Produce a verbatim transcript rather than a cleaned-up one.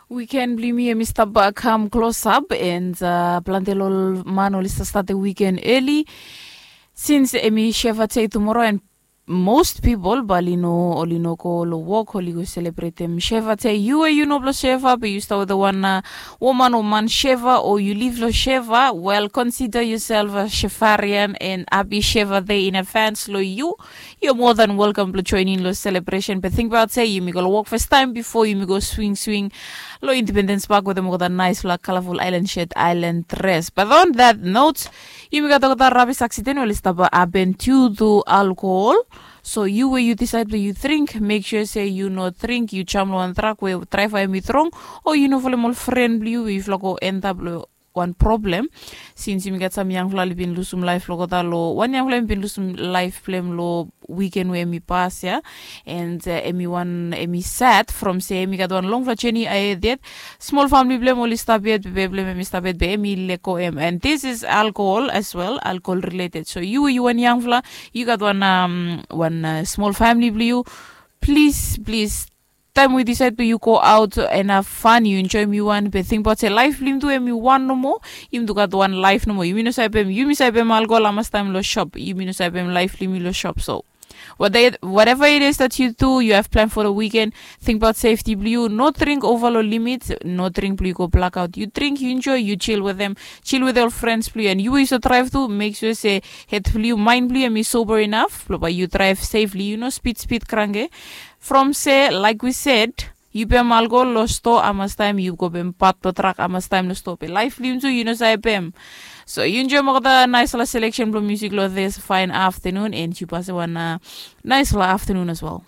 Wiken blong yumi em i stap kam klosap, and planti long ol man oli stap statem wiken eli, since em i sheva dei tumora, and most pipol bae oli no oli no go long wok, oli go selebretem sheva dei. Yu we yu no blong sheva be yu stap wetem wan woman o man sheva, o yu liv long sheva, wel, konsida yusel a shevarian and hapi sheva dei in advans long yu. Yu moa than welkam blong joenem long selebresen, be tingbaot se yumi go long wok fastaem bifo yumi go swingswing long Independens Pak wetem olgeta naesfala kalaful aelan shet, aelan dres. Bat on that not, yumi gat olgeta rabis aksiden we oli stap hapen diu tu alkohol. So yu we yu disaed blong yu dring, mek sua se yu no dring yu jam long wan trak we draeva hem i drong, o yu no folem ol fren blong yu we yufala go endap long wan problem. Sins yumi gat sam yangfala oli bin lusum laef blong olgeta long wan yangfala hem i bin lusum laef blong hem long wiken we hem i pas ya. And hem i wan hem i sad from se hem i gat wan longfala jeni ahed yet. Smol famili blong hem oli stap yet, bebe blong hem hem i stap yet, be hem i lego hem, and this is alkohol as well, alkohol rileted. So yu we yu wan yangfala, yu gat wan wan smol famili blong yu, plis plis, taem we yu disaed blong yu go aot and hav fan, yu enjoem yu wan, be tingbaot se laef blong yumi tu hem i wan nomo. Yumi tu gat wan laef nomo, yumi no save pem yumi save pem alkohol hamastaem long sop, yumi no save pem laef blong yumi long sop. So whatever it is that yu tu, yu hav plan fo long wiken, tingbaot sefti blong yu. No dring ova long limit, no dring blong yu go blakaot. Yu dring, yu enjoe, yu jil wetem, jil wetem ol frens blong yu, and yu we yu save draev tu, mek sua se hed blong yu, maen blong yu hem i soba inaf blong bae yu draev sefli, yu no spid spid kranke. From se laek wi sed, yu pem alkohol long stoa hamastaem, yu go pem pat blong trak hamastaem long stoa, be laef blong yumi tu yu no save pem. So yu enjoem olgeta naesfala seleksen blong musik long this faen aftanun, and yu pasem wan naesfala aftanun as well.